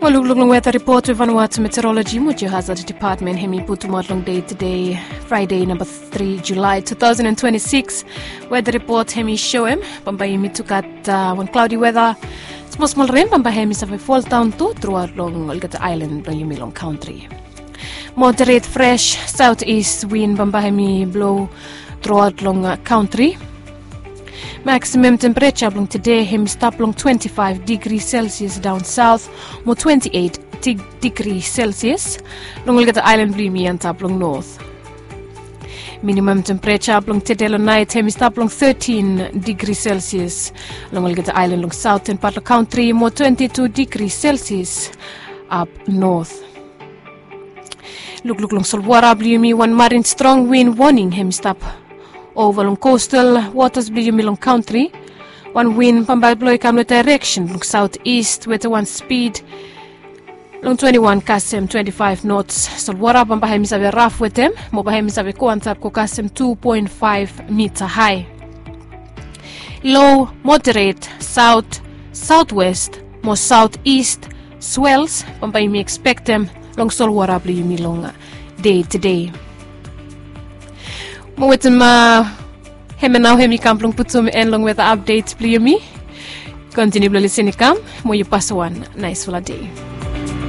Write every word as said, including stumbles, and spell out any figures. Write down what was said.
Mo lukluk long weta ripot we Vanuatu Meteorology mo Geohazard Department hem i putumaot long dei tede, Fraede namba tri Julae two thousand and twenty-six. Weta ripot hem i soem bambae yumi tu gat wan klaodi weta. Smosmol ren bambae hem i save foldaon tu truaot long olgeta aelan blong yumi long kantri. Moderet fres saot ist win bambae hem i blo truaot long kantri. Maksimam tempereja blong tede hem i stap long twenti faef digri selsias daon saot mo twenti eit digri selsias long olgeta aelan blong yumi antap long not. Minimam tempereja blong tede long naet hem i stap long tetin digri selsias long olgeta aelan long saoten pat long kantri mo twenti tu digri selsias ap not. Lukluk long solwara blong yumi, wan marin strong win woning hem i stap ova long kostal wotas blong yumi long kantri. Wan win bambae blo i kam long daereksen blong saot ist weta wan spid long twenti wan kasem twenti faef nots. Solwara bambae hem i save raf wetem mo bae hem i save go antap go kasem tu poen faef mita hae. Lo moderet saot, saotwest mo saotist swels bambae yumi ekspektem long solwara blong yumi long dei tede. Mo wetem hemia nao hem i kam blong putum en long weta apdet blong yumi. Kontiniu blong lisin i kam mo yu pasem wan naesfala dei.